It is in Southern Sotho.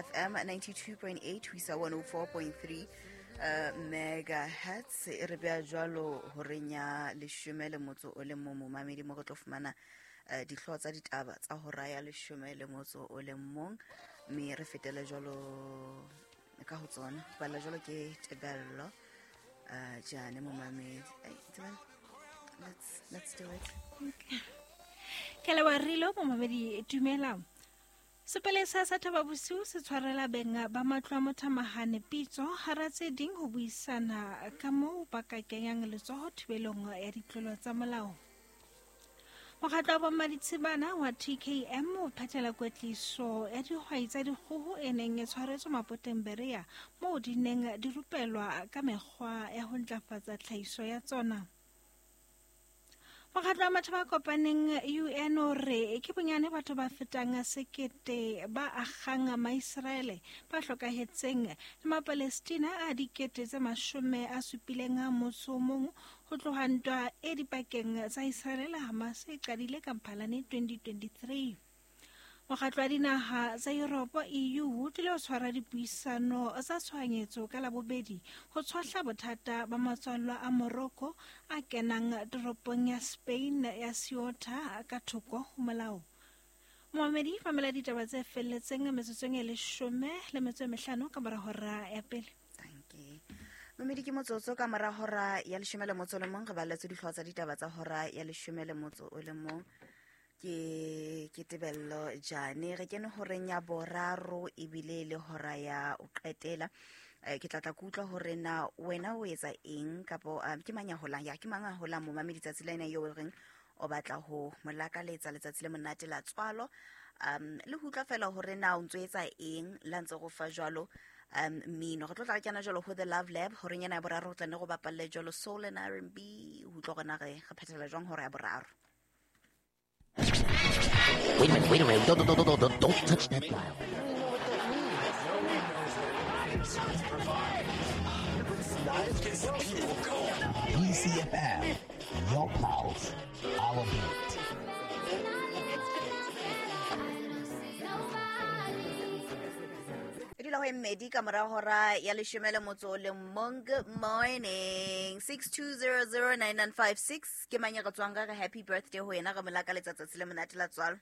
FM 92.8 ho isa 104.3 megahertz. E re beha jwalo horeng ya leshome le motso o le mong, momamedi, mo re tlo fumana dihlooho tsa ditaba tsa hora ya leshome le motso o le mong, mme re fetele jwalo ka ho tsona. Balla jwalo ke Tebello Jane, momamedi. Ai, Tebello, let's do it. Ke leboha Rilo. Momamedi, dumela. Sepolesa sa Thaba Bosiu se tshwarela beng ba matlo a mothamahane pitso, hara tse ding ho buisana ka moo ba ka kenyang letsoho thibelong ya ditlolo tsa molao. Mokgatlo wa bommaditshibana wa TKM o phethela kwetliso ya dihwai tsa dikgoho e neng e tshwaretswe Mapoteng Berea, moo di neng di rupelwa ka mekgwa ya ho ntlafatsa tlhahiso ya tsona. Mokgatlo wa Matjhaba a Kopaneng UN o re ke bonyane batho ba fetang 1000 ba akgang Maiseraele ba hlokahetseng le Mapalestina a 71 ho tloha ntwa e dipakeng tsa Israele le Hamas e qadile ka Mphalane 2023. Mokgatlo wa Dinaha tsa Europe EU o tlile ho tshwara dipuisano tsa tshohanyetso ka Labobedi ho tshohla bothata ba matswallwa a Morocco a kenang toropong ya Spain ya Ceuta ka thoko ho molao. Momamedi, mamela ditaba tse felletseng metsotsong e 15 ka mora hora ya pele. Dankie. Momedi, ke motsotso ka mora hora ya leshome le motso o le mong. Re baletswe dihlooho tsa ditaba tsa hora ya leshome le motso o le mong ke Tebello Jane. Re kene horeng ya boraro, ebile le hora ya o qetela. Ke tla tla ke utlwa hore na wena o etsa eng, kapo ke mang ya holang, ya ke mang a holang, momamedi, tsatsi la ena eo o reng o batla ho mo lakaletsa letsatsi le monate la tswalo, le ho utlwa fela hore na o ntso etsa eng la ntse go fa jwalo mmino. Re tlo tla re kena jwalo ho The Love Lab horeng ena ya boraro, ho tla ne go bapalle jwalo soul and R&B, ho utlwa hore na re phethela jwang hora ya boraro. Wait a minute, wait a minute. Don't, don't, don't, don't, don't touch that dial. BCFM, your pulse, our beat. E dula ho e mmedi ka mora hora ya leshome le motso o le mong. Good morning. 62009956, ke mang e re tswang ka re happy birthday ho yena, re mo lakaletsa tsatsi le monate la tswalo?